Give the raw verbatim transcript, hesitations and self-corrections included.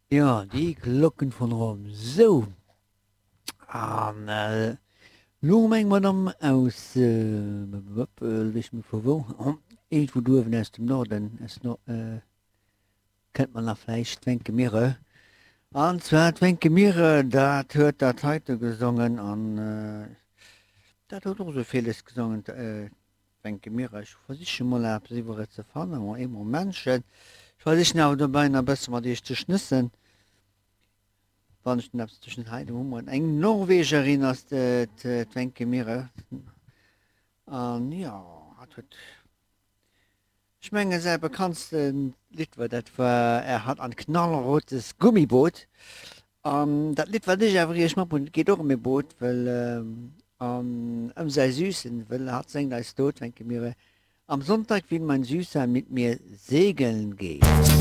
Jo, Die Glocken von Rom. Sou, an elo hu mer eng Madame aus, weess net vu wou, iergendwou do uewen aus dem Norden, aus Nor, kennt mer nach vläicht, d'Wencke Mirre. An zwar d'Wencke Mirre, dat huet dat heite gesongen an dat huet och esou villes gesongen, d'Wencke Mirre. Ech versiche mol eppes iwwer et ze fannen, ma ee Momentchen. Ech versichen awer dobäi nach e bësse mat iech ze schnëssen, wann ech denn eppes ze schn. Hei, do hu mer et, eng Norwegerin ass d'Wencke Mirre an jo, hatt huet, ech mengen, säi bekanntste Lidd war, dat war Er hat ein knallrotes Gummiboot. An dat Lidd, wat ech awer iech matbruecht hunn, geet och ëm e Boot, well an ëm säi Süßen, well hatt séngt eis do, d'Wencke Mirre, Am Sonntag will mein Süßer mit mir segeln gehen.